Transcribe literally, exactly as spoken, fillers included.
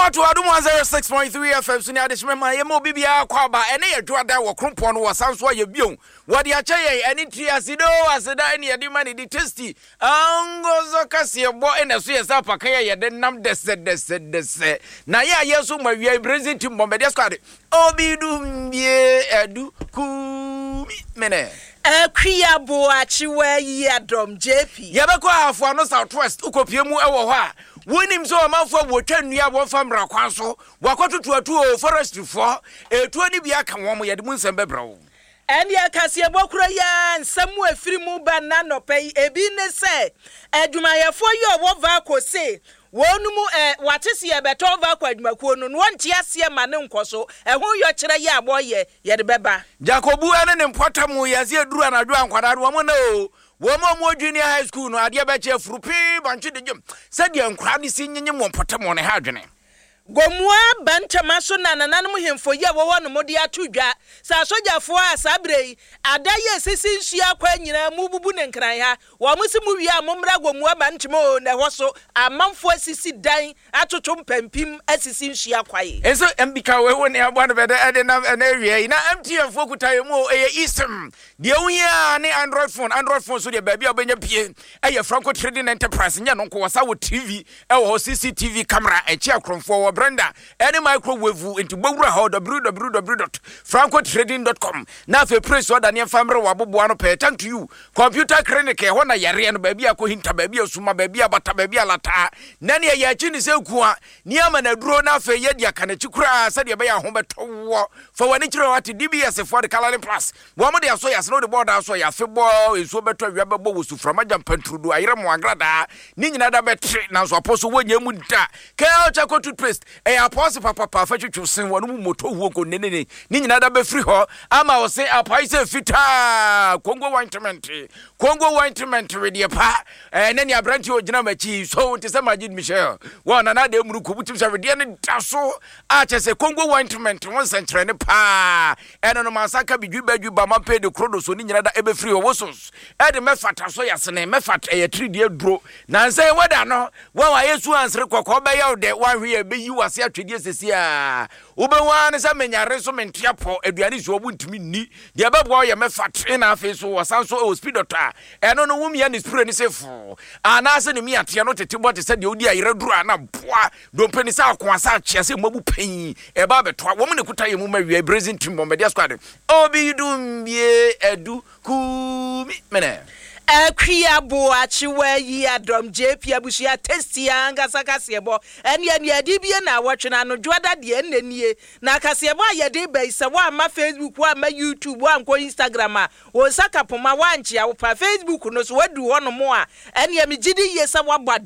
Ato Adom one oh six point three F M so ne adehyemɛ ma yɛma obi biara kɔ aba. Ɛne yɛ dwoada wɔ krompɔn no wɔ san so ayɛ bio wɔde akyɛ yɛn. Ɛne tiri asido aseda ɛne yɛde ma ne de tasty angozo kaseɛ bɔ ɛna so yɛ sɛ apaka yɛ yɛde nam dɛsɛdɛsɛdɛsɛ na yɛ a yɛ nso ma wia Brazil team bɔmbɛdeɛ squad obi dum bie adu kumi mene. Akua Boakyewa yi adɔm J P. Yɛbɛkɔ Ahafoa no South West, wokɔpie mu ɛwɔ hɔ a wonim sɛ ɔmanfoɔ a wɔtwa nnua a wɔmfa mmara kwan so wɔakɔtoto atu o, forestryfoɔ ɛtuo no bi aka wɔn mo, yɛde mu nsɛm bɛbrɛ wo. Ɛne kaseɛbɔ koro yi a nsɛm mu efiri mu ba nna nɔpɛ yi, ebi ne sɛ adwumayɛfoɔ yi a ɔwɔ VALCO se wɔn mu ɛ wate se yɛbɛtɔn VALCO adwumakuo no no wɔnte aseɛ ma ne nkɔ so. Ɛho yɔkyerɛ yɛ a wɔyɛ yɛde bɛba. Jakobu ne ne mpɔtam yɛsɛ yɛduru anadwo a nkwadaa no wɔn na o wɔn a wɔwɔ junior high school no adeɛ bɛkyɛ afuru pii bankye de gyem sɛdeɛ nkwadaa no si nyenyem wɔ mpɔtam wɔ ne ha adwene. Gomua bantama so na nananom hemfo yi a wɔwɔ no mo de ato dwa sɛ asogyafoɔ a saa berɛ yi ada yɛ sisi nsuo akwa nyinaa mu bubu ne Nkran ha, wɔn mo si mu wie a mommra Gomua bantama o, na ɛhɔ so amanfoɔ asisi dan atoto mpampim asisi nsuo akwae. Nso mbika wei wo ne aboa no bɛdɛ ɛde nam ɛna awia yi na M T N foɔ kuta yɛ mu o, ɛyɛ eSIM deɛ wohia ne Android phone. Android phone so deɛ, baabi a wobɛnya pie ɛyɛ Franco Trading Enterprise. Nyɛ no nko, wɔ sa wɔ T V ɛwɔ hɔ, C C T V camera ɛkyi akorɔmfoɔ wɔ blender ɛne microwave. Nti bɔwura hɔ W W W dot francotrading dot com na afei praise ɔda ne ɛmfa mmerɛ wɔ aboboa no pɛɛ. Thank you Computer Clinic, ɛhɔ na yareɛ no baabi a kɔhinta, baabi a suma, baabi a bata, baabi a lataa na neɛ yɛ akyi ne sɛ ku a nneɛma na aduro na afei yɛdi aka n'akyi koraa sɛdeɛ ɛbɛyɛ aho bɛtɔ wɔ fa w'ani kyerɛ wate. D B S foɔ de Coloring Plus wɔn de asɔ yɛ asene wode bɔɔda asɔ yɛ afe bɔ nsuo bɛtɔ, awia bɛbɔ wɔ suframa gya mpanturudu ayerɛ mo agradaa ne nyinaa da bɛtere nanso apɔ so wɔnyɛ mu da. Kɛl charcoal toothpaste ɛyɛ apɔse papapa fa twitwi sen wɔn mu moto huo nko nenene ne nyinaa da bɛfiri hɔ ama wɔ se apae sɛ fitaa. Congo ointment, Congo ointment wedeɛ pa ɛɛ ne ne aberanteɛ ogyina m'akyi so nte sɛ Majid Michel wɔn nana de emuru kubu tim sɛ wedeɛ no da so a kyɛ sɛ Congo ointment ho nsɛnkyerɛnne paa. Ɛno no mansa ka bidwi badwi ba mampe de koro do so ne nyinaa da ɛbɛfiri hɔ. Wosos ɛde mɛfata so yɛsene mɛfat ɛyɛ tiridie duro nansa yɛ wɛda no wɔn a yɛsu ansere kɔkɔɔ bɛyɛ wo dɛ wɔahwe yɛ bɛyi wase atwedeɛ sɛsi a wobɛhu ara ne sɛ menyare so mentea pɔ aduane si ɔbo ntumi nni deɛ ɛbɛboa wo yɛ mɛfat. Na afei so wɔsan so ɛwɔ speed dot a ɛno no womia ne spray ne sɛ foo anaasɛ ne miateɛ no tete bɔ te sɛ deɛ wodi ayerɛ duro a na boa dompe ne sɛ akoa sɛ akyea sɛ mmabu pɛn ɛba abɛtoa wɔn ne kuta yɛ mu ma wia Brazil team bɔmbɛdeɛ squad obi dum bie adu kumi mene. Akua Boakyewa yi adɔm J P abusua tasty ankasa kaseɛbɔ ɛne ɛne ɛde bie na awɔtwe no anodwoada deɛ ɛnnɛ nie na kaseɛbɔ a yɛde ba yi sɛ woamma Facebook, woamma YouTube, woankɔ Instagram a wo nsa ka poma woankyea wo pa Facebook no so woadu hɔ nom a ɛneɛ megye di yie sɛ woabɔ.